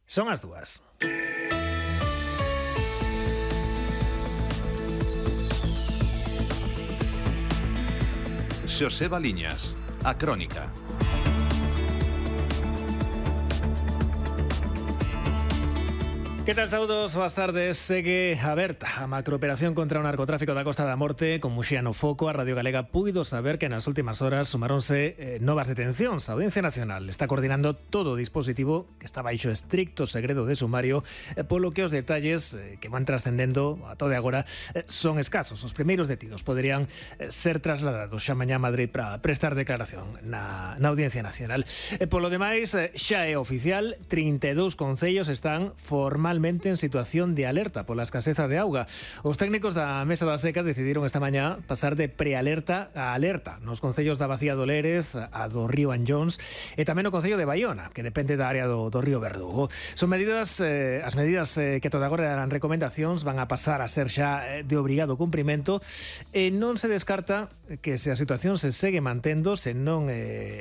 Son as 2. Xoseba Liñas, a Crónica. Que tal, saúdos, boas tardes. Segue aberta a macrooperación contra o narcotráfico da Costa da Morte con Muxía no foco. A Radio Galega puido saber que nas últimas horas sumáronse novas detencións. A Audiencia Nacional está coordinando todo o dispositivo que está baixo estricto segredo de sumario, polo que os detalles que van trascendendo a todo agora son escasos. Os primeiros detidos poderían ser trasladados xa mañá a Madrid para prestar declaración na Audiencia Nacional. Polo demais, xa é oficial, 32 concellos están formalmente en situación de alerta pola escaseza de auga. Os técnicos da Mesa da Seca decidiron esta mañá pasar de prealerta a alerta nos concellos da Bacía do Lérez, a do Río Anllóns e tamén o concello de Baiona, que depende da área do Río Verdugo. Son medidas, as medidas que toda agora eran recomendacións van a pasar a ser xa de obrigado cumprimento e non se descarta que se a situación se segue mantendo, se non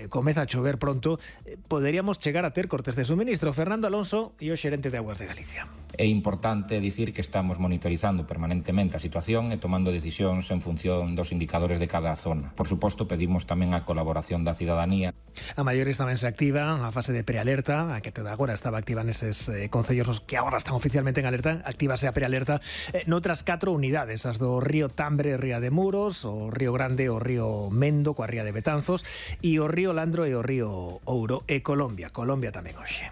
comeza a chover pronto, poderíamos chegar a ter cortes de suministro. Fernando Alonso e o xerente de Augas de Galicia. É importante dicir que estamos monitorizando permanentemente a situación e tomando decisións en función dos indicadores de cada zona. Por suposto, pedimos tamén a colaboración da cidadanía. A maiores tamén se activa a fase de prealerta, a que toda agora estaba activa neses concellos os que agora están oficialmente en alerta, actívase a prealerta noutras 4 unidades, as do Río Tambre, Ría de Muros, o Río Grande, o Río Mendo, coa Ría de Betanzos, e o Río Landro e o Río Ouro, e Colombia tamén hoxe.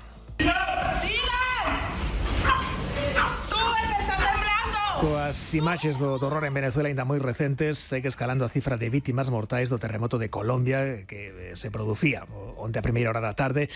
Coas imaxes do horror en Venezuela ainda moi recentes, segue escalando a cifra de vítimas mortais do terremoto de Colombia que se producía onte a primeira hora da tarde.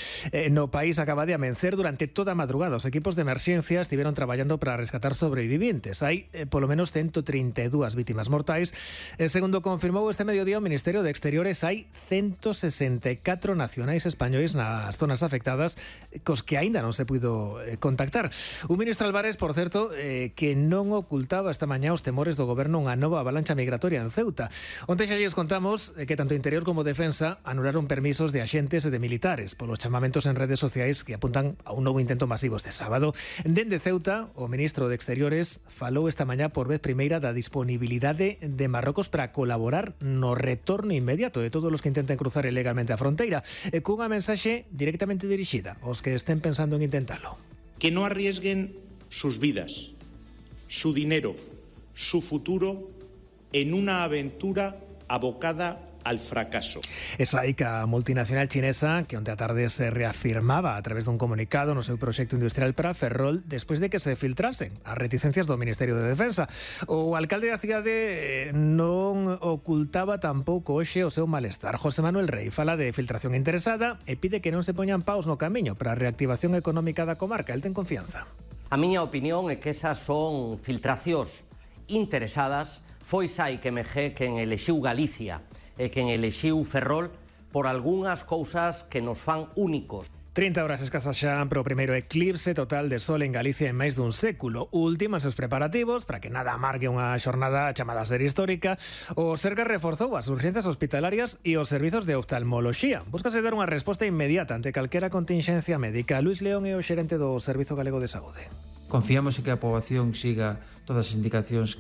No país acaba de amencer durante toda a madrugada. Os equipos de emerxencia estiveron traballando para rescatar sobrevivientes. Hai polo menos 132 vítimas mortais. Segundo confirmou este mediodía o Ministerio de Exteriores, hai 164 nacionais españois nas zonas afectadas cos que aínda non se puido contactar. O ministro Álvarez, por certo, que non ocultaba esta mañá os temores do goberno unha nova avalancha migratoria en Ceuta. Onte xa lles contamos que tanto Interior como Defensa anularon permisos de axentes e de militares polos chamamentos en redes sociais que apuntan a un novo intento masivo este sábado. Dende Ceuta, o ministro de Exteriores falou esta mañá por vez primeira da disponibilidade de Marrocos para colaborar no retorno inmediato de todos os que intenten cruzar ilegalmente a fronteira, cunha mensaxe directamente dirixida aos que estén pensando en intentalo. Que no arriesguen sus vidas, su dinero, su futuro en una aventura abocada al fracaso. Esa ICA multinacional chinesa que onte a tarde se reafirmaba a través dun comunicado no seu proxecto industrial para Ferrol despois de que se filtrasen as reticencias do Ministerio de Defensa. O alcalde da cidade non ocultaba tampouco hoxe o seu malestar. José Manuel Rey fala de filtración interesada e pide que non se poñan paus no camiño para a reactivación económica da comarca. El ten confianza. A miña opinión é que esas son filtracións interesadas. Foi sai que quen elexiu Galicia e quen elexiu Ferrol por algunhas cousas que nos fan únicos. 30 horas escasas xa para o primeiro eclipse total de sol en Galicia en máis dun século. Últimas os preparativos para que nada amargue unha xornada chamada a ser histórica. O Sergas reforzou as urxencias hospitalarias e os servizos de oftalmoloxía. Búscase dar unha resposta inmediata ante calquera contingencia médica. Luis León é o xerente do Servizo Galego de Saúde. Confiamos en que a poboación siga todas as indicacións